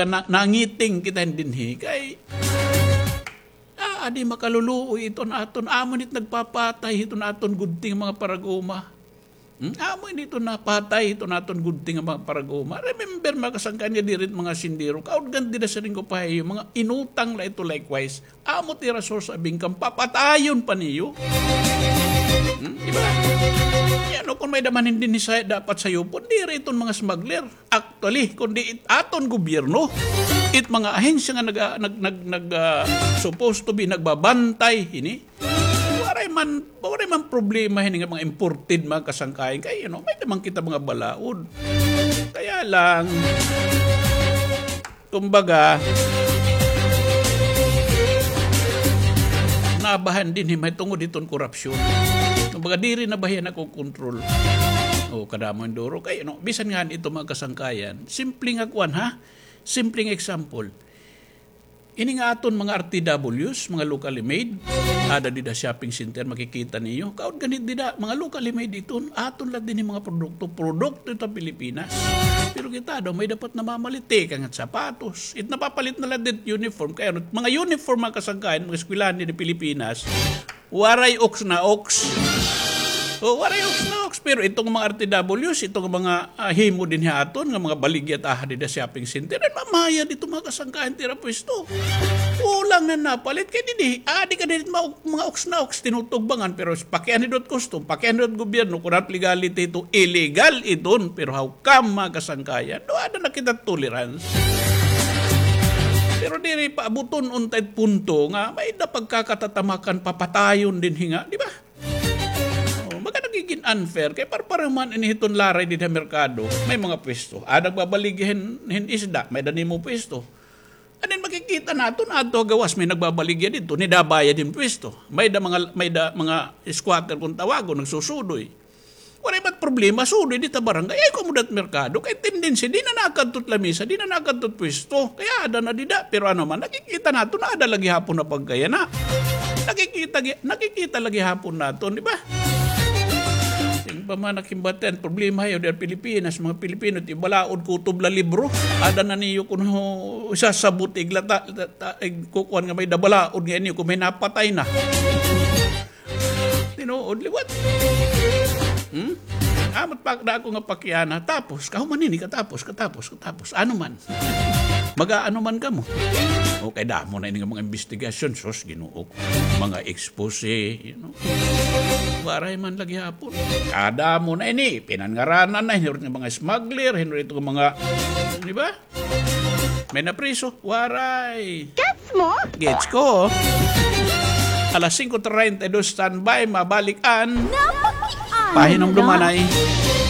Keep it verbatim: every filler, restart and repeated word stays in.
na, nangiting kita dinhi kay, ah, adi makaluluoy iton aton. Amo nit nagpapatay hiton aton gudting mga parag-uma. Hmm? Amo ini ito napatay, ito naton gudting nga mga parag-uma. Remember, mga kasangkayan, nga diri it mga sindiro, kaudgan dida siring ko pa ha iyo, mga inutang la ito likewise. Amo it ira source of income, papatayon pa niyo. Hmm? Di ba? Yan, o, kung may-ada man hin dinhi sa dapat sayupon, diri iton mga smuggler. Actually, kundi it aton gobyerno, it mga ahensya nga nag-, nag-, nag-, nag-, ah, supposed to be nagbabantay hini, Waray man, waray man problema hini nga mga imported, mga kasangkayan. Kay, you know, may-ada man kita mga balaod. Kaya lang, kumbaga, nabahan dinhi mahitungod hiton korupsyon. Kumbaga, diri na ba hiya nakokontrol? O, kadamo hin duro. Kay, you know, bisan ngani ito, mga kasangkayan, simple nga kuan, ha? Simpleng example. Ini nga aton mga R T Ws, mga locally made, ada dida shopping center, makikita niyo. Kaon gani dida, mga locally made iton, aton la dinhi mga produkto, produkto ito Pilipinas. Pero kita daw, may dapat namamalit, tikang it sapatos. It napapalit na la dit uniform. Kay ano, mga uniform, mga kasangkayan, mga eskwelahan dida Pilipinas, Waray oks na oks. O, waray oks na oks. Pero itong mga R T Ws, itong mga, ah, himo dinhi ha aton, nga mga baligya it aha dida shopping center, ay mamayad ito mga kasangkayan it ira pwesto. Kulang na napalit. Kay dinhi, ah, di ka dinhi ma-, mga oks na oks, tinutugbangan. Pero pakianhi daw it custom, pakianhi daw it gobyerno, kun ano it legality ito, illegal iton. Pero how Kam, mga kasangkayan, do ada na kita tolerance. Pero diri paabuton unta it punto nga may-ada pagkakatatamakan papatayon dinhi nga, di ba? O, baga nagigin unfair kay parpareho man ini hiton laray dida ha merkado, may mga pwesto. Ah, nagbabaligya hin, hin isda, may-ada nimo pwesto. And then makikita naton, adto ha gawas may nagbabaligya didto, nida bayad hin pwesto. May-ada mga, may-ada mga squatter kun tawagon, nagsusudoy. Waray man problema, sudoy dida ha barangay, ayaw kamo dida ha merkado. Kay tendency, di na nakadto it lamisa, di na nakadto it pwesto. Kay ada na dida, pero ano man, nakikita naton, ada la gihapon na pagkayana. Nakikita gi-, nakikita la gihapon naton, di ba? Sing pa man nakimbatian, problema hayo, dida ha Pilipinas, mga Pilipino, it iyo balaod, kutob la libro. Ada na niyo kun ho, isasabot, iglata, ta-, ta-, igkukuan nga may-ada balaod nga ini, kun may napatay na. Tinuod liwat. Hmm? Amo it pa, dako nga pakiana. Tapos, kahuman ini, katapos, katapos, katapos. Ano man? Mag-aano man kamo? O, kay damo na ini nga mga imbestigasyon, sus, Ginoo ko. Mga expose, you know. Waray man la gihapon. Kadamo na ini, pinangaranan na, hinurot nga mga smuggler, hinurot nga mga, di ba? May napriso? Waray. Gets mo? Gets ko. Alas singko treinta y dos, standby, mabalik an Napakiana. Pahinumdumanay.